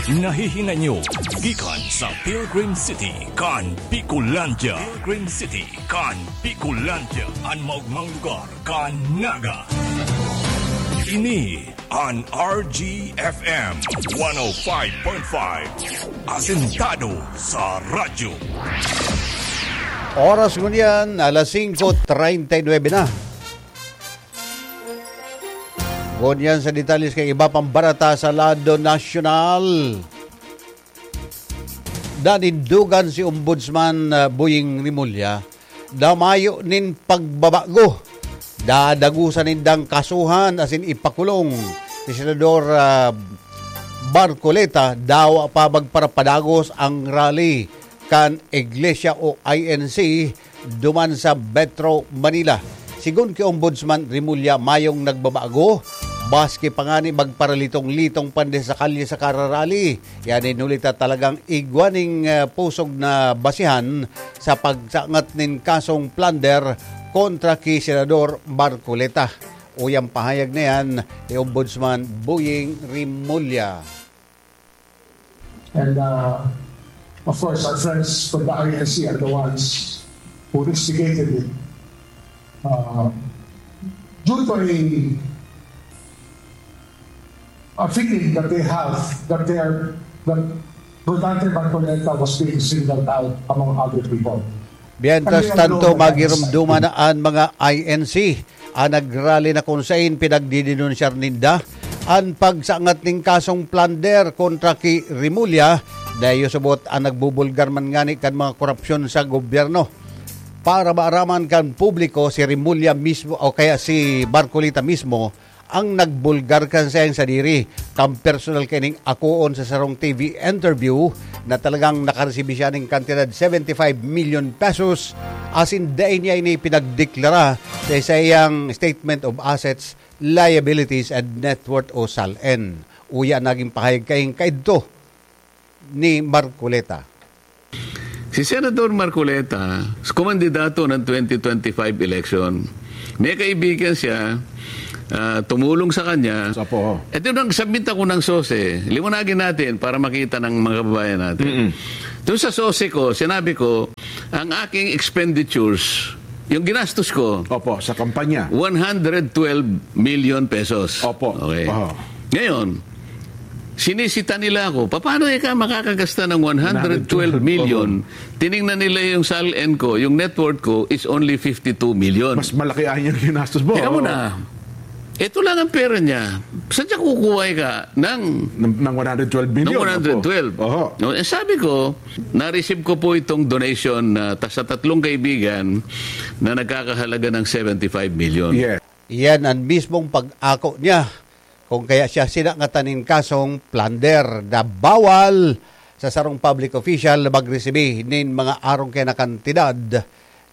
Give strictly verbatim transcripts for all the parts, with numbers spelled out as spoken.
Nahihinanyo gikan sa Pilgrim City kan Bicolandia. Pilgrim City kan Bicolandia, an maogmang lugar kan Naga. Ini an R G F M one oh five point five, asentado sa radyo. Oras ngunyan, alas singko treinta y nuebe na. Ngunyan sa detalye kan iba pang bareta sa lado nasyonal. Nanindogan si Ombudsman, ah, Boying Remulla na mayo nin pagbabago. Dadagosan nindang kasuhan asin ipakulong si Senador, ah, Marcoleta, dawa pa magparapadagos ang rally kan Iglesia o I N C duman sa Metro Manila. Sigon ki Ombudsman Remulla, mayong nagbabago, maski pa ngani magparalitong-litong pande sa kalye sa kararali. Yan inuli ta talagang igwa ning, ah, pusog na basihan sa pagsangat nin kasong plunder kontra ki Senador Marcoleta. Uyang pahayag na yan ni Ombudsman Boying Remulla. And, uh, of course, our friends from the I N C are the ones who instigated it. Uh, due to a, a feeling that they have that they are, that Rodante Marcoleta was being singled out among other people. Mientras tanto, magirumduman na an mga I N C an nagrally na kun sain pinagdidenunsyar ninda an pagsangat nin kasong plunder kontra ki Remulla, dahil subot an nagbubulgar man ngani kan mga korupsyon sa gobyerno. Para maaraman kan publiko, si Remulla mismo o kaya si Marcoleta mismo ang nagbulgar kan saiyang sadiri, kan personal kaining akoon sa sarong T V interview na talagang nakaresibi siya ning kantidad seventy-five million pesos, asin dai niya ini pinagdeklara sa saiyang statement of assets, liabilities, and net worth o SALN. Uya naging pahayag kaing kaidto ni Marcoleta. Si Senador Marcoleta, kumandidato ng twenty twenty-five election. May kaibigan siya, ah, tumulong sa kanya. Opo. Ito nang submit ako ng sose. Liwanagin natin para makita ng mga kababayan natin. Mm-mm. Doon sa sose ko, sinabi ko, ang aking expenditures, yung ginastos ko, Opo, sa kampanya. One hundred twelve million pesos. Opo. Okay. Oho. Ngayon, sinisita nila ako, "Paano ka makakagasta ng one hundred twelve million?" Oho. Tiningnan nila yung SALN ko, yung net worth ko is only fifty-two million. Mas malaki ang iyong ginastos mo. Tingnan mo Oo. na. Ito lang ang pera niya. Saan siya kukuha ka ng Ng, ng one hundred twelve million? Ng one hundred twelve. Oho. No, eh, sabi ko, na-receive ko po itong donation na ta-, sa tatlong kaibigan na nagkakahalaga ng seventy-five million. Yes. Iyan an mismong pag-ako niya, kung kaya siya sinangatan nin kasong plunder na bawal sa sarong public official na magresibi nin mga arong kaya na kantidad.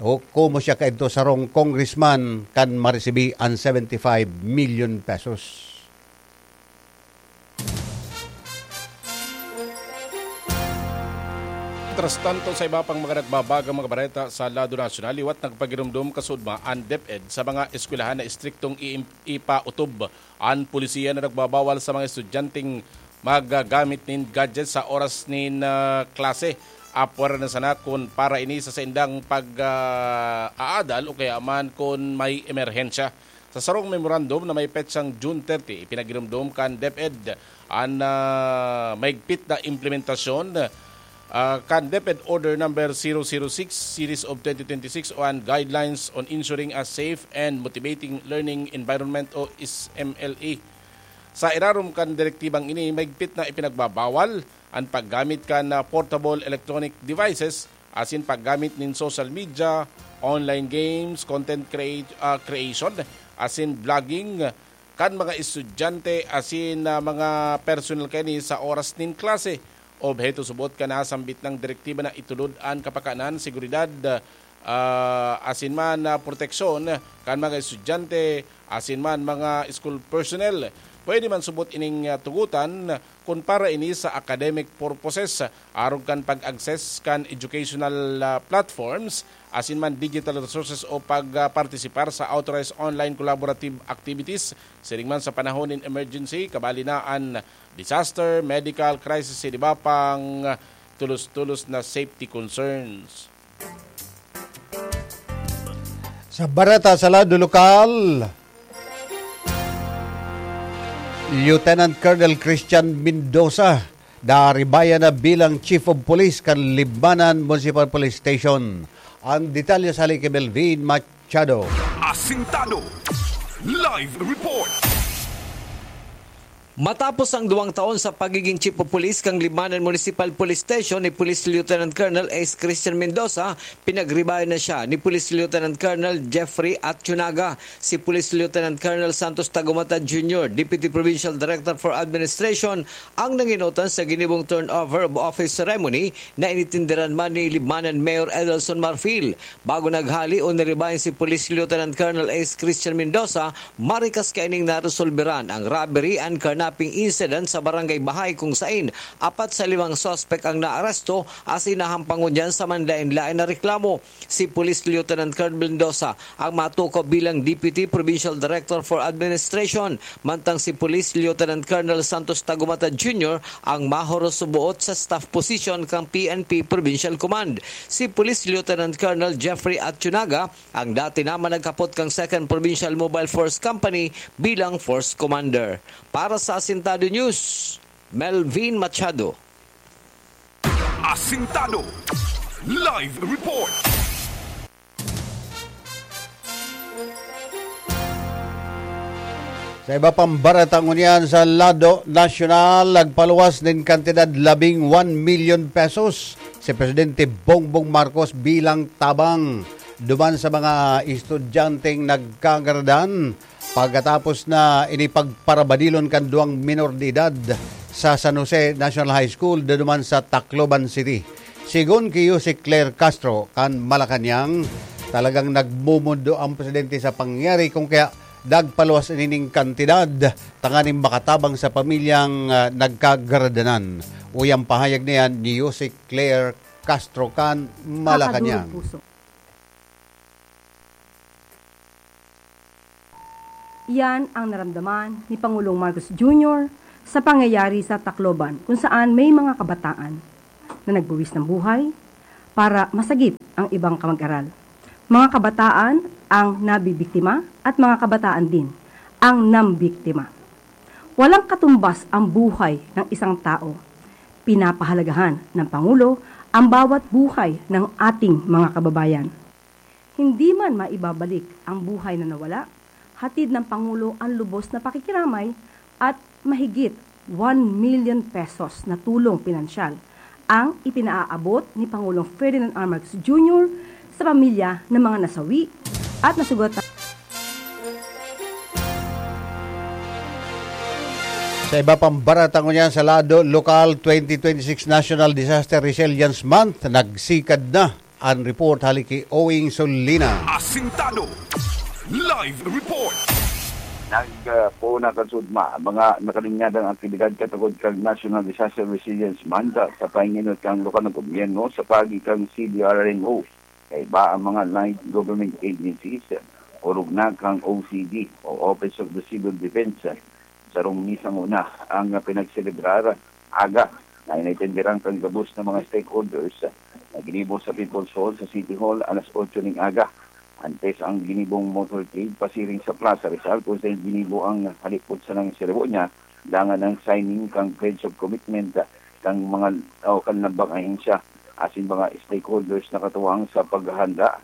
O komo siya kaidto sarong congressman kan maresibi an seventy-five million pesos. Mientras tanto, sa iba pang mga nagbabagang mga bareta sa lado nasyonal, liwat nagpagirumdom kasudma an DepEd sa mga eskwelahan na estriktong iim-, ipautob an polisiya na nagbabawal sa mga estudyanteng maggamit nin gadget sa oras nin, ah, klase. Apwera na sana kun para ini sa saindang pag, ah, aadal o kaya man kun may emerhensya. Sa sarong memorandum na may petsang June thirty, ipinagirumdom kan DepEd an, ah, mahigpit na implementasyon, ah, kan DepEd Order Number zero zero six Series of twenty twenty-six o an Guidelines on Ensuring a Safe and Motivating Learning Environment o S M L E. Sa irarom kan direktibang ini, mahigpit na ipinagbabawal an paggamit kan, ah, portable electronic devices asin paggamit nin social media, online games, content create-, ah, creation, asin blogging kan mga estudyante asin, ah, mga personal kaini sa oras nin klase. Obheto subot kan nasambit nang direktiba na itulod an kapakanan, seguridad, ah, asin man, ah, proteksyon kan mga estudyante asin man mga school personnel. Pwede man subot ining, ah, tugotan kun para ini sa academic purposes, arog kan pag-access kan educational, ah, platforms asin man digital resources o pagpartisipar sa authorized online collaborative activities, siring man sa panahon nin emergency, kabali na an disaster, medical crisis, asin iba pang tulos-tulos na safety concerns. Sa bareta sa lado lokal, Lieutenant Colonel Christian Mendoza naribayan na bilang Chief of Police kan Libmanan Municipal Police Station. Ang detalye sa hali ki Melvin Machado. Asintado. Live report. Matapos ang duwang taon sa pagiging Chief of Police kan Libmanan Municipal Police Station ni Police Lieutenant Colonel Ace Christian Mendoza, pinagribayan na siya ni Police Lieutenant Colonel Jeffrey Atsunaga. Si Police Lieutenant Colonel Santos Tagumata Junior, Deputy Provincial Director for Administration, ang nanginotan sa ginibong turnover of office ceremony na initindiran man ni Libmanan Mayor Edelson Marfil. Bago naghali o naribayan si Police Lieutenant Colonel Ace Christian Mendoza, marikas kaining naresolberan ang robbery and carnapping incident sa Barangay Bahay, kung sain apat sa limang suspek ang naaresto asin nahampang ngunyan sa manlaen-laen na reklamo. Si Police Lieutenant Colonel Mendoza ang matukaw bilang Deputy Provincial Director for Administration, mantang si Police Lieutenant Colonel Santos Tagumata Junior ang mahoros suboot sa staff position kan P N P Provincial Command. Si Police Lieutenant Colonel Jeffrey Atsunaga ang dati naman nagkapot kan Second Provincial Mobile Force Company bilang Force Commander. Para sa Asintado News, Melvin Machado. Asintado. Live report. Sa iba pang bareta ngunyan, sa lado nasyonal, nagpaluwas nin kantidad labing one milyon pesos si Presidente Bongbong Marcos bilang tabang duman sa mga estudyanteng nagkagaradan pagkatapos na inipagparabadilon kan duwang minor de edad sa San Jose National High School, duman sa Tacloban City. Sigon ki Yusek Claire Castro kan Malacañang, talagang nagmumundo ang presidente sa pangyayari, kung kaya nagpaluwas nining kantidad tanganing makatabang sa pamilyang, ah, nagkagradanan. Uya ang pahayag na yan ni Yusek Claire Castro kan Malacañang. Kakadurog puso. Iyan ang naramdaman ni Pangulong Marcos Junior sa pangyayari sa Tacloban, kung saan may mga kabataan na nagbuwis ng buhay para masagip ang ibang kamag-aral. Mga kabataan ang nabibiktima at mga kabataan din ang nambiktima. Walang katumbas ang buhay ng isang tao. Pinapahalagahan ng Pangulo ang bawat buhay ng ating mga kababayan. Hindi man maibabalik ang buhay na nawala, hatid ng Pangulo ang lubos na pakikiramay at mahigit one million pesos na tulong pinansyal ang ipinaaabot ni Pangulong Ferdinand R. Marcos Junior sa pamilya ng mga nasawi at nasugatan. Sa iba pang bareta ngunyan, sa lado lokal, twenty twenty-six National Disaster Resilience Month, nagsikad na. An report hali ki Owing Solina. Asintado. Live report. Nagpoon na kan sugma ang mga nakalingyadang aktibidad katagod kan National Disaster Resilience Month sa pahinginot kan lokal na gobyerno sa paagi kan C D R R M O, kaiba ang mga allied government agencies, orog na kan O C D o Office of the Civil Defense. Sarong misa nguna ang pinagselebrar aga na inaitindiran kan gabos na mga stakeholders na ginibo sa People's Hall sa City Hall alas otso ning aga. Antes ang ginibong motorcade pasiring sa Plaza Rizal, kung saan ginibo ang halipot sa nang seremonya, dangan ang signing kan Pledge of Commitment kan mga o kan lambang ahensya asin mga stakeholders na katuwang sa paghahanda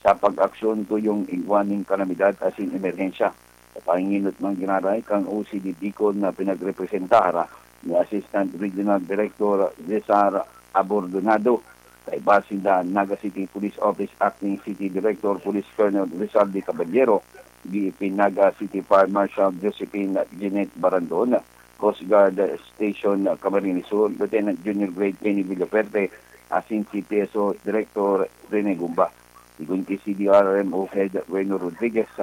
sa pag-aksyon tuyong igwa ning kalamidad asin emerhensya. Sa panginot man giraray kan O C D Bicol na pinagrepresentar ni Assistant Regional Director Cesar Abordonado, kaiba sinda Naga City Police Office Acting City Director Police Colonel Rizal de Caballero, B F P Naga City Fire Marshal Josephine Jeanette Barandon, Coast Guard Station Camarines Sur Lieutenant Junior Grade Kenny Villafuerte, asin C P S O Director Rene Gumba. Sigon ki C D R M O Head Reno Rodriguez,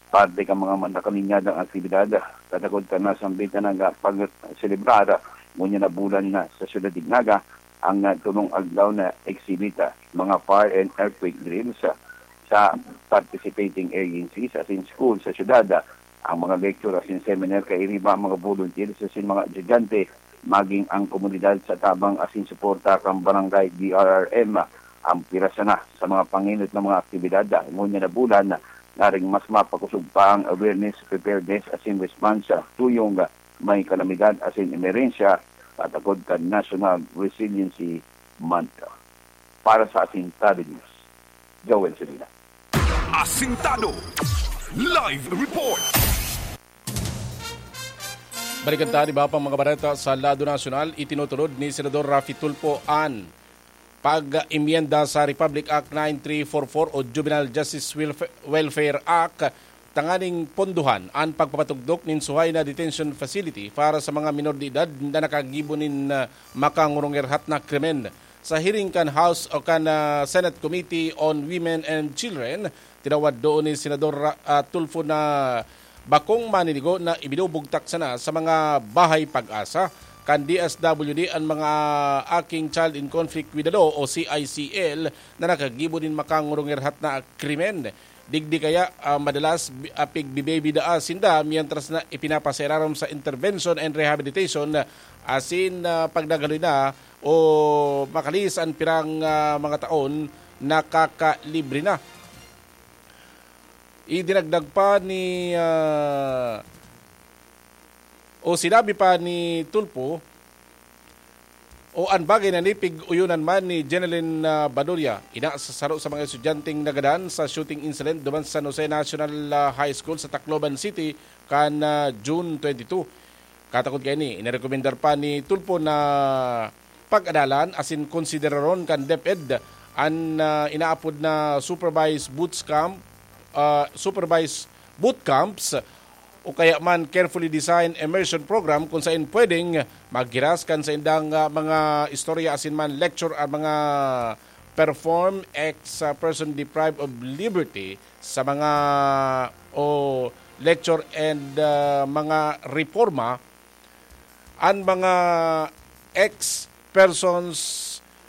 parte kan mga nakalinyadang aktibidad, katakod kan nasambit na nga pagselebrar ngunyan na bulan na sa Syudad nin Naga ang, ah, tolong adlaw na exhibit, ah, mga fire and earthquake drills, ah, sa participating agencies asin school sa syudad. Ang mga lecture asin seminar kairiba ang mga volunteers asin mga estudyante, maging ang komunidad sa tabang asin suporta kan Barangay D R R M ang pira sana sa mga pangenot na mga aktibidad. Ngunyan na bulan, naring mas mapakosog pa ang awareness, preparedness asin response sa tuyong may kalamidad asin emerhensya, patagod kan National Resiliency Month. Para sa Asintado News, Joel Sedina. Asintado Live Report. Balikan ta an iba pang mga bareta sa lado nasyonal. Itinutulod ni Senador Raffy Tulfo an pag-emyenda sa Republic Act nine three four four o Juvenile Justice Welfa-, Welfare Act tanganing pondohan an pagpapatugdok nin suhay na detention facility para sa mga minor de edad na nakagibo nin, ah, makangurungerhat na krimen. Sa hearing kan House o kan, ah, Senate Committee on Women and Children, tinawad doon ni Senador Ra-, ah, Tulfo na bakong maninigo na ibinubugtak sana sa mga Bahay Pag-asa kan D S W D an mga aking child in conflict with the law o C I C L na nakagibo nin makangurungerhat na krimen. Digdi kaya, ah, madalas bi-, ah, pigbibebidaa sinda mientras na ipinapasairarom sa intervention and rehabilitation, ah, asin, ah, pagdagaloy na o makalihis an pirang, ah, mga taon, nakakalibre na. Idinagdag pa ni, ah, o sinabi pa ni Tulfo, o an bagay na nipig-uyonan man ni Jeneline, ah, Baduria, ina sa saro sa mga estudyanteng nagadan sa shooting incident duman sa San Jose National, ah, High School sa Tacloban City kan, ah, June twenty-two. Katakod kaini, inarekomendar pa ni Tulfo na pag-adalan asin konsideraron kan DepEd an, ah, inaapod na supervised boot camp, ah, supervised boot camps o kaya man carefully designed immersion program kung saen pwedeng maghiras kan saindang, ah, mga istorya asin man lecture ang mga perform ex, ah, person deprived of liberty sa mga o lecture and, ah, mga reforma an mga ex persons,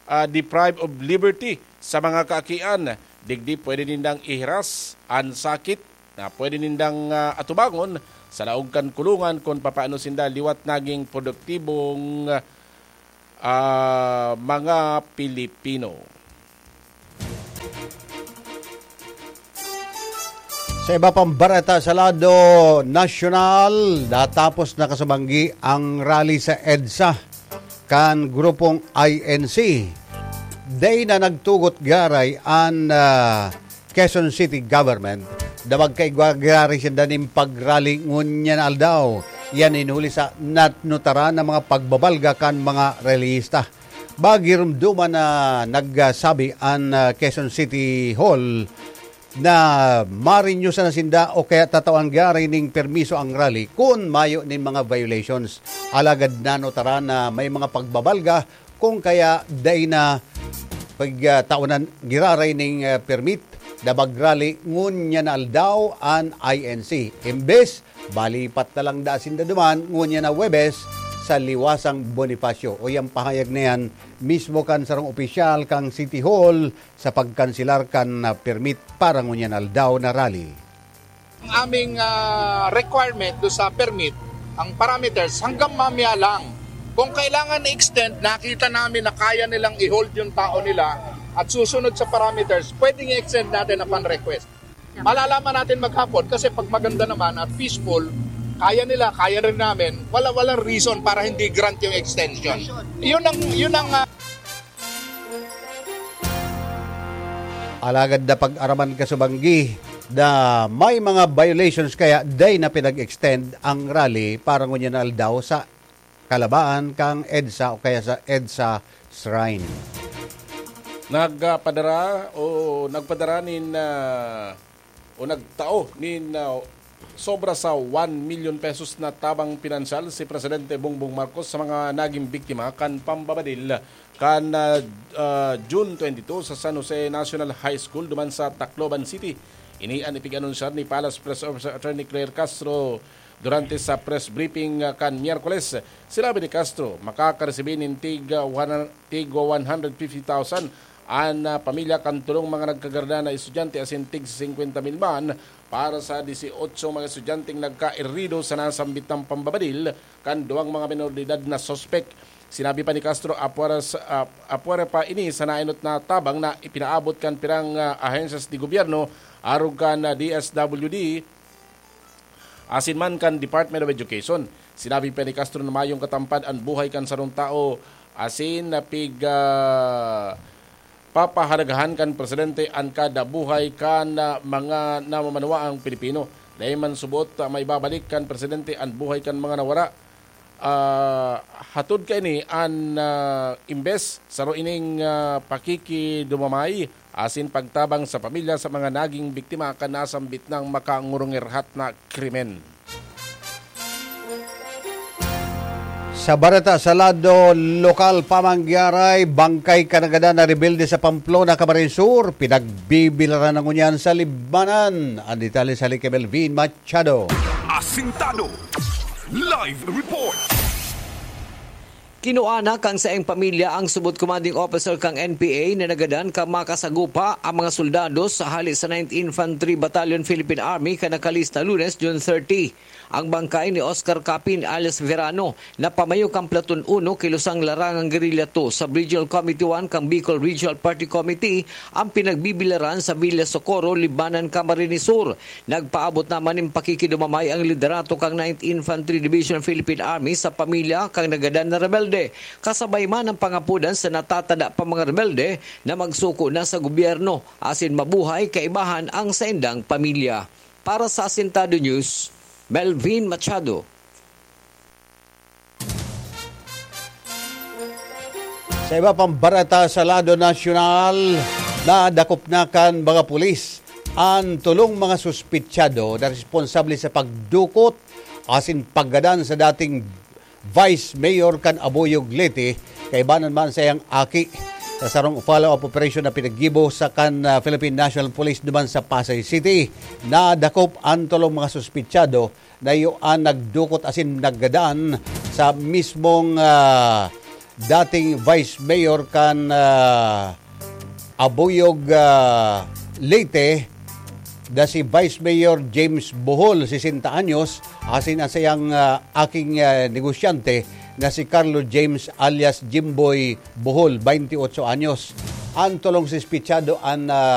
ah, deprived of liberty sa mga kaakian. Digdi pwede nindang ihiras an sakit na pwede nindang, ah, atubangon sa laog kan kulungan kun papaano sinda liwat naging produktibong, ah, mga Pilipino. Sa iba pang bareta sa lado nasyonal, natapos na kasabanggi ang rally sa EDSA kan grupong I N C. Dai na nagtugot garay an, ah, Quezon City Government na magkaigwa garay sinda nin pag-rally ngunyan na aldaw. Yan in huli sa nat-, nataran na mga pagbabalga kan mga rallyista. Magirumduman na nagsabi an, ah, Quezon City Hall na ma-renew sana sinda o kaya tatawan gari ning permiso ang rally kun mayo nin mga violations. Alagad nanotaran na may mga pagbabalga kung kaya dai na pagtawanan giraray ning, ah, permit na mag-rally ngunyan na aldaw an I N C. Imbes, balipat na lang da sinda duman ngunyan na Huwebes sa Liwasang Bonifacio. O yang pahayag na yan mismo kan sarong opisyal kan City Hall sa pagkanselar kan, ah, permit para ngunyan aldaw na rally. Ang aming, ah, requirement do sa permit, ang parameters, hanggang mamaya lang. Kung kailangan i-extend, nakita namin na kaya nilang i-hold yung tao nila at susunod sa parameters, pwedeng i-extend natin upon request. Malalaman natin maghapon kasi pag maganda naman at peaceful, kaya nila, kaya rin namin, wala, walang reason para hindi grant yung extension. Yun ang, yun ang, ah, Alagad na pag-araman kasubanggi na may mga violations kaya dai na pinag-extend ang rally para ngunyan na aldaw sa kalabaan kan EDSA o kaya sa EDSA Shrine. Nagpadara o nagpadara nin, ah, o nagtao nin, ah, sobra sa one million pesos na tabang pinansyal si Presidente Bongbong Marcos sa mga naging biktima kan pambabadil kan, ah, ah, June twenty-two sa San Jose National High School duman sa Tacloban City. Ini an ipig-anunsyar ni Palace Press Officer Attorney Claire Castro durante sa press briefing, ah, kan Miyerkules. Sinabi ni Castro, makakaresibi nin tig, ah, one, tig one hundred fifty thousand an ah, pamilya kan tolong mga nagkagarda na estudyante asin tig singkwenta mil man para sa dieciocho mga estudyanteng nagkairido sa nasambit na pambabadil kan duwang mga menor de edad na suspek. Sinabi pa ni Castro, apwera, sa, ah, apwera pa ini sa naenot na tabang na ipinaabot kan pirang ah, ahensyas de gobyerno, arog kan ah, D S W D, asin man kan Department of Education. Sinabi pa ni Castro na mayong katampad an buhay kan sarong tao asin na pig, ah, papahalagahan kan presidente an kada buhay kan ah, mga namamanuaang Pilipino. Dai man subot ah, maibabalik kan presidente an buhay kan mga nawara. Ah, hatod kaini an ah, imbes saro ining ah, pakikidumamay asin pagtabang sa pamilya sa mga naging biktima kan nasambit na makangurungirhat na krimen. Sa bareta sa lado lokal, pamanggiaray, bangkay kan nagadan na rebelde sa Pamplona, Camarines Sur, pinagbibilaran na ngunyan sa Libmanan. Ang detalye sa Lique Melvin Machado. Asintado. Live report. Kinuha na kan saiyang pamilya ang subot commanding officer kan N P A na nagadan kan makasagupa ang mga soldados sa hali sa Ninth Infantry Battalion Philippine Army kan nakalista Lunes, June thirty. Ang bangkay ni Oscar Capin alias Verano na pamayo kan Platoon uno, Kilosang Larangan Guerrilla two, Sub-Regional Committee one kan Bicol Regional Party Committee ang pinagbibilaran sa Villa Socorro, Libmanan, Camarines Sur. Nagpaabot naman nin pakikidumamay ang liderato kan Ninth Infantry Division Philippine Army sa pamilya kan nagadan na rebelde, kasabay man ang pangapodan sa natatada pa mga rebelde na magsuko na sa gobyerno asin mabuhay kaibahan ang saindang pamilya. Para sa Asintado News, Melvin Machado. Sa iba pang bareta sa lado nasyonal, nadakop na kan mga pulis an tolong mga suspitsado na responsable sa pagdukot asin paggadan sa dating Vice Mayor kan Abuyog, Leyte, kaibanan man sa iyang aki. Sa sarong follow-up operation na pinaggibo sa kan ah, Philippine National Police duman sa Pasay City, nadakop an tolong mga suspitsado na iyo an nagdukot asin naggadan sa mismong ah, dating Vice Mayor kan ah, Abuyog, ah, Leyte, na si Vice Mayor James Bohol, sesenta anyos, asin ang sayang ah, aking ah, negosyante na si Carlo James alias Jimboy Bohol, twenty-eight anyos. Ang tolong suspitsado an ah,